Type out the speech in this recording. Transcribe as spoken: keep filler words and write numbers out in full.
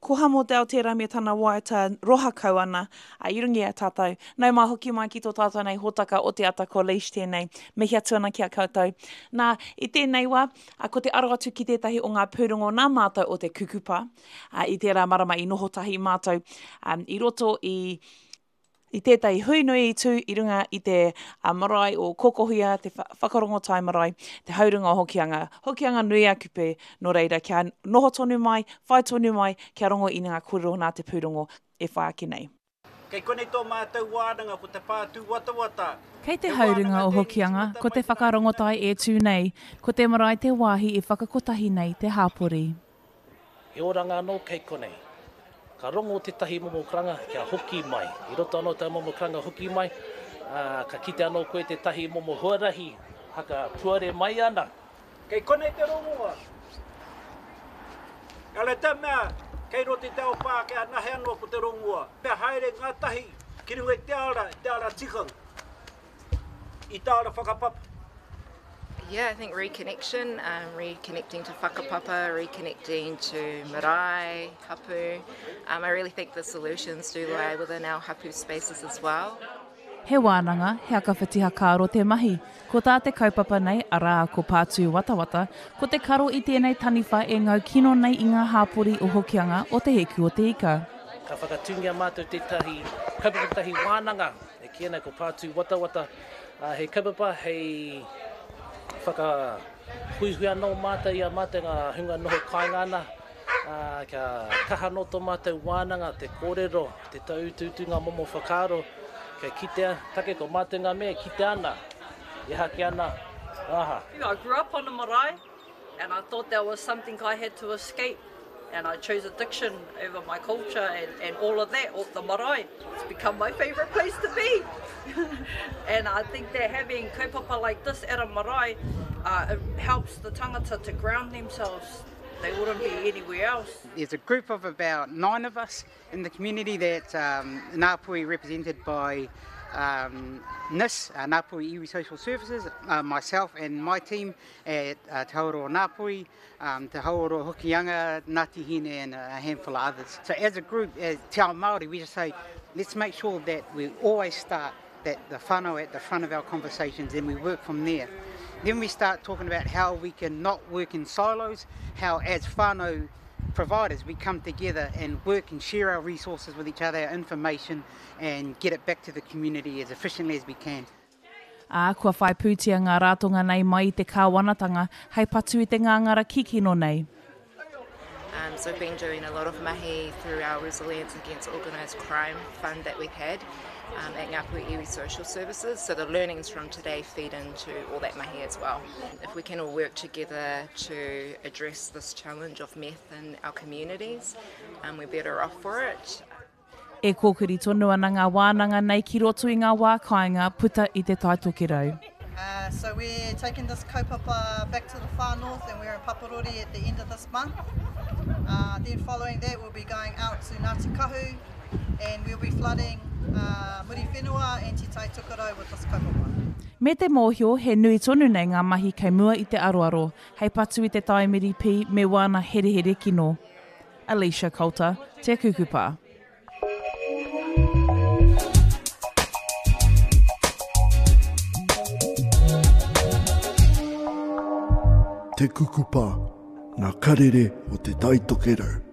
Ko Hamo Dell tērā me tana waiata roha kau ana, a, i runga i a tātou. Nau mai hoki mai ki tō tātou nei hōtaka o te ata ko Leish tēnei. Mihi atu ana ki a koutou. Nā, i tēnei wā, a, ko te aro atu ki tētahi o ngā pūrongo nā mātou o te kukupa. A, i tērā marama i noho tahi mātou um, i roto i i tētahi hui nui i tū i runga i te a, marae o Kokohuia, te whakarongotai marae, te haurunga o Hokianga. Hokianga nui a Kupe, nō reira, kia noho tonu mai, whai tonu mai, kia rongo i ngā kōrero nā te pūrongo e whai ake nei. Kei konei tō mātou wānanga ko te Pātūwatawata. Kei te haurunga o Hokianga, ko te whakarongotai e tū nei, ko te marae te wāhi e whakakotahi nei te hāpori. He oranga anō kei konei. Ka rongo tētahi momo karanga kia hoki mai. I roto anō tā momo karanga hoki mai, ā, ka kite anō koe tētahi momo huarahi haka puare mai ana. Kei konei te rongoa. Ehara te mea, kei roto i te ao Pākehā nahe anō ko te rongoa. Pea haere ngātahi ki runga i te ara, i te ara tikanga, i te ara whakapapa. Yeah, I think reconnection, um, reconnecting to whakapapa, reconnecting to marae, hapu. Um, I really think the solutions do lie within our hapu spaces as well. He wānanga, he akawhiti hakaaro te mahi. Ko tā te kaupapa nei, arā, ko Pātū Watawata, ko te karo i tēnei taniwha e ngau kino nei i ngā hāpori o Hokianga o Te Hiku o Te Ika. Ka whakatūngia mātou tētahi kaupapa, tētahi wānanga, e kīia nei ko Pātū Watawata, ā, he kaupapa hei whakahuihui anō mātou i a mātou ngā hunga noho kāinga ana, ā, kia kaha anō tō mātou wānanga, te kōrero, te tauutuutu ngā momo whakaaro, kia kitea, take ko mātou ngā mea e kitea ana, e hake ana, aha. I grew up on a marae and I thought that was something I had to escape and I chose addiction over my culture and, and all of that, or the marae. It's become my favourite place to be. And I think that having kaupapa like this at a marae, uh, it helps the tangata to ground themselves. They wouldn't be anywhere else. There's a group of about nine of us in the community that um, Ngāpuhi represented by um, N I S, uh, Ngāpuhi Iwi Social Services, uh, myself and my team at, uh, Te Hauora o Ngāpuhi, um, Te Hauora o Hokianga, Ngāti Hine and a handful of others. So as a group, as Te Ao Māori, we just say, let's make sure that we always start that the whānau at the front of our conversations and we work from there. Then we start talking about how we can not work in silos, how as whānau providers we come together and work and share our resources with each other, our information, and get it back to the community as efficiently as we can. Ā, kua whai pūtea ngā rātonga nei mai i te kāwanatanga hei patu i te ngāngara kikino nei. Um, so we've been doing a lot of mahi through our Resilience Against Organised Crime fund that we've had, um, at Ngāpuhi Iwi Social Services. So the learnings from today feed into all that mahi as well. If we can all work together to address this challenge of meth in our communities, um, we're better off for it. E kōkiri tonu ana ngā wānanga nei ki roto i ngā wā kāinga puta i te Tai Tokerau. Uh, so we're taking this kaupapa back to the far north and we're in Paparori at the end of this month. Uh, then following that we'll be going out to Ngāti Kahu and we'll be flooding, uh, Muriwhenua and Te Tai Tokerau with this kaupapa. Me te mōhio, he nui tonu nei ngā mahi kei mua i te aroaro, hei patu i te taimiri pī me wāna herehere kino. Alicia Coulter, Te Kukupa. Te Kukupa, ngā karere o Te Tai Tokerau.